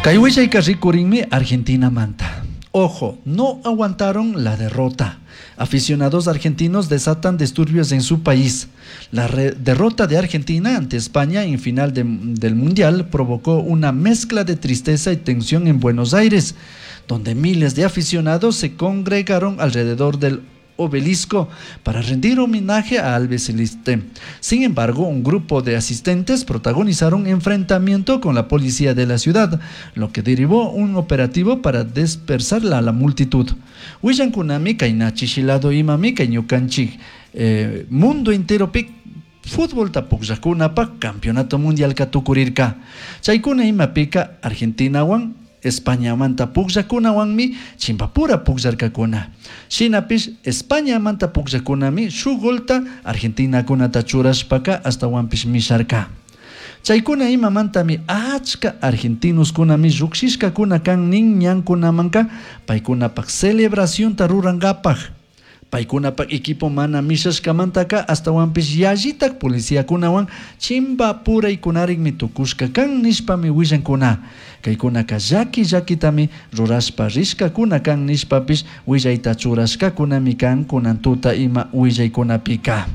Kay willayka rikurinmi Argentinamanta. Ojo, no aguantaron la derrota. Aficionados argentinos desatan disturbios en su país. La derrota de Argentina ante España en final del Mundial provocó una mezcla de tristeza y tensión en Buenos Aires, donde miles de aficionados se congregaron alrededor del obelisco para rendir homenaje a Albiceleste. Sin embargo, un grupo de asistentes protagonizaron enfrentamiento con la policía de la ciudad, lo que derivó un operativo para dispersar a la multitud. Willankunami kayna chishi lado imami kay ñukanchik mundo enteropi futbolta pukllajkunapak campeonato mundialka tukurirka. Chaykuna imapika Argentinawan Españamanta pukllakunawanmi chimpapura pukllarkakuna. Shinapish Españamanta pukllakunami shuk golta Argentinakunata churashpaka ashtawanpish misharka. Chaykuna imamantami achka argentinoskunami llukshishkakuna kan nin ñankunamanka paykunapak celebracionta rurankapak. Paykunapak equipo mana mishashkamantaka ashtawanpish yallitak policiakunawan chimpapuraykunarikmi tukushka kan nishpami willankuna. Kaykunaka llaki llakitami rurashpa rishkakuna kan nishpapish willayta churashkakunami kan kunan tuta ima willaykunapika.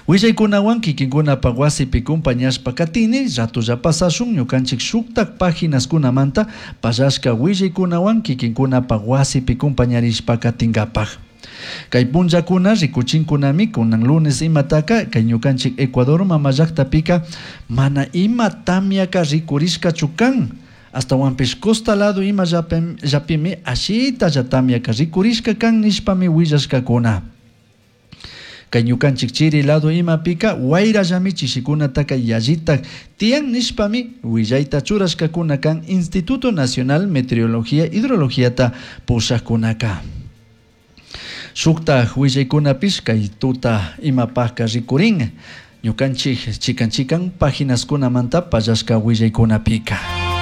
Willaykunawan kikinkunapak wasipi compañashpa katini ratolla pasashun ñukanchik shuktak paginaskunamanta pallashka willaykunawan kikinkunapak wasipi compañarishpa katinkapak. Kay punllakuna rikuchinkunami kunan lunes imataka kay ñukanchik Ecuador mama llaktapika mana ima tamyaka rikurishkachu kan. Ashtawanpish costa lado ima llapimi ashitalla tamyaka rikurishka kan nishpami willashkakuna. Kay ñukanchik chiri lado imapika wayrallami chishikunataka yallitak tiyan nishpami willayta churashkakuna kan Instituto Nacional Meteorología Hidrologiata pushajkunaka. Shuktaj willaykunapish kay tuta imapajka rikurin ñukanchik chikan chikan paginaskunamanta pallashka willaykunapika.